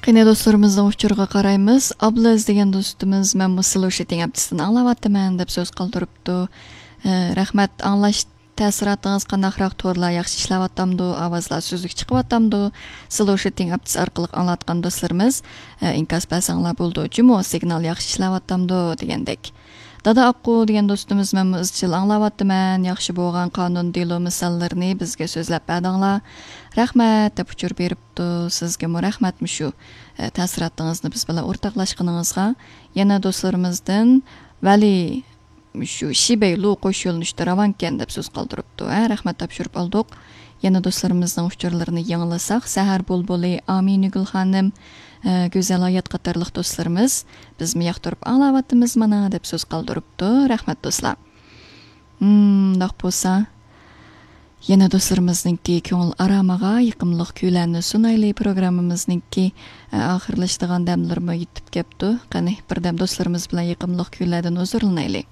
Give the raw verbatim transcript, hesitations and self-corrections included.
قېنى، دوستلىرىمىزنىڭ ئۇچۇرىغا قارايمىز. ئابلىز دېگەن دوستىمىز، مەنمۇ سلوشىتىڭ ئەپتىسىدىن ئاڭلاۋاتىمەن، دەپ سۆز قالدۇرۇپتۇ. ئە، رەھمەت، ئاڭلاش تەسىراتىڭىز قانداقراق؟ تورلار ياخشى ئىشلەۋاتامدۇ؟ ئاۋازلار سۈزۈك چىقىۋاتامدۇ؟ سلوشىتىڭ ئەپتىسى ئارقىلىق ئاڭلاۋاتقان دوستلىرىمىز، ئە، ئىنكاس بەرسەڭلار بولىدۇ. جۇمۇ، سىگنال ياخشى ئىشلەۋاتامدۇ؟ دېگەندەك. دادا ئاققۇ دېگەن دوستىمىز، مەنمۇ ئىزچىل ئاڭلاۋاتىمەن. ياخشى بولغان قانۇن دېلو مىساللىرىنى بىزگە سۆزلەپ بەردىڭلار. رەھمەت، دەپ ئۇچۇر بېرىپتۇ. سىزگىمۇ رەھمەت، مۇشۇ، ئە، تەسىراتىڭىزنى بىز بىلەن ئورتاقلاشقىنىڭىزغا. يەنە دوستلىرىمىزدىن ۋەلى، مۇشۇ شىبەي لۇ قوش يۆنىلىشتە راۋانكەن، دەپ سۆز قالدۇرۇپتۇ. ھە، رەھمەت تاپشۇرۇپ ئالدۇق. يەنە دوستلىرىمىزنىڭ ئۇچۇرلىرىنى يېڭىلىساق، سەھەر بۇلبۇلى، ئامىنىگۈل خانىم، ئە، گۈزەل ھايات قاتارلىق دوستلىرىمىز، بىزمۇ ياقتۇرۇپ ئاڭلاۋاتىمىز مانا، دەپ سۆز قالدۇرۇپتۇ. رەھمەت، دوستلار. مم، مۇنداق بولسا، يەنە دوستلىرىمىزنىڭكى كۆڭۈل ئارامىغا يېقىملىق كۈيلەرنى سۇنايلى. پروگراممىمىزنىڭكى، ئە، ئاخىرلىشىدىغان دەملىرىمۇ يېتىپ كەپتۇ. قېنى، بىردەم دوستلىرىمىز بىلەن يېقىملىق كۈيلەردىن ھۇزۇرلىنايلى.